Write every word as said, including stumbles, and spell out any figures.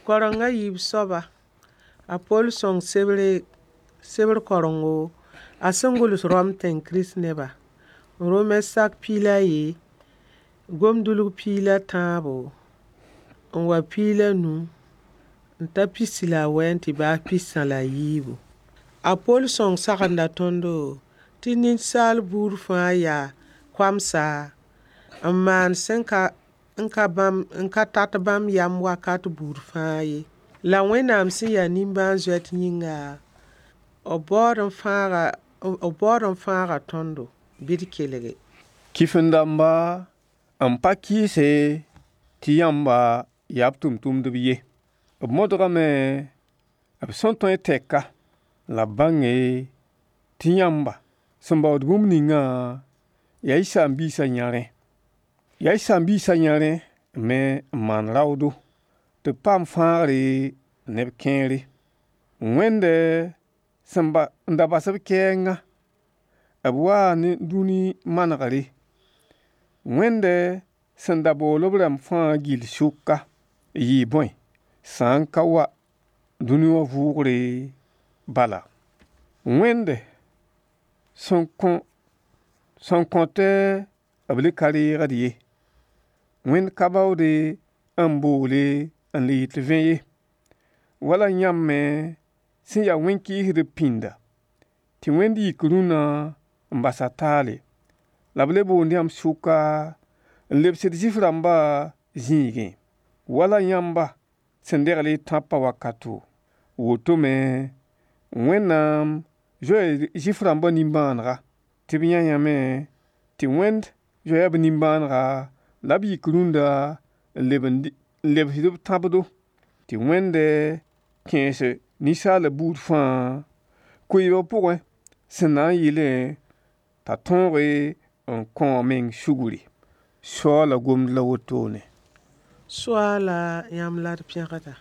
Kareng a yiib soaba, a Poll sõng sebre sebr karengo a sẽn gʋls Rom tẽng Kirist-neba. Rome sak piig la a yee, gom-dʋlg piig la tãabo n wa piig la nu n ta pisi la a wɛ n tɩ baas pistã la a yiibu. A Poll sõng sagenda tõndo tɩ ninsaal buud fãa yaa koamsa n maan sẽn ka n ka bãmb n ka tat bãmb yam wakat buud fãa ye. La Wẽnnaam sẽn yaa nimbãan-zoet yĩnga, b baood n fãaga b baood n fãaga tõndo bɩ d kelge. Kifin-dãmba n pa kɩɩse tɩ yãmba yaa b tʋmtʋmdb ye. B modgame b sẽn tõe tɛka la b bãnge tɩ yãmba sẽn baood bũmb ningã yaa y saam-biisã yãrẽ. Yaa y saam-biisã yãrẽ me n maan raoodo tɩ b paam fãagre neb kẽere. Wẽnd sẽn ba n da bas b kɛɛngã, b waa ne dũni manegre. Wẽnd sẽn da bool b rãmb fãa gill sʋka yɩɩ bõe, sã n ka wa dũni wã vʋʋgre bala. Wẽnd sẽn kõ sẽn kõt b le ka reegd ye. Wẽnd ka baoode n boole n le yɩ tɩ vẽ ye. Wala yãmb me sẽn ya wẽn-kɩɩsdb pĩnda, tɩ Wẽnd yik rũnna n bas a taale, la b le boond yãmb sʋka n lebsd Zɩɩf-rãmba zĩigẽ. Wala yãmba sẽn degl y tãpã wakato, woto me Wẽnnaam zoe Zɩɩf-rãmbã nimbãanega tɩ b yã yãme tɩ Wẽnd zoeya b nimbãanega la b yik rũnda n leb n lebsd b tãbdo, tɩ Wẽnd kẽes ninsaalb buud fãa koeebg pʋgẽ sẽn na n yɩlẽ t'a tõoge n kõ a meng sugri. Soaala gomd la wotone. Soaala yãmb la d pẽgda.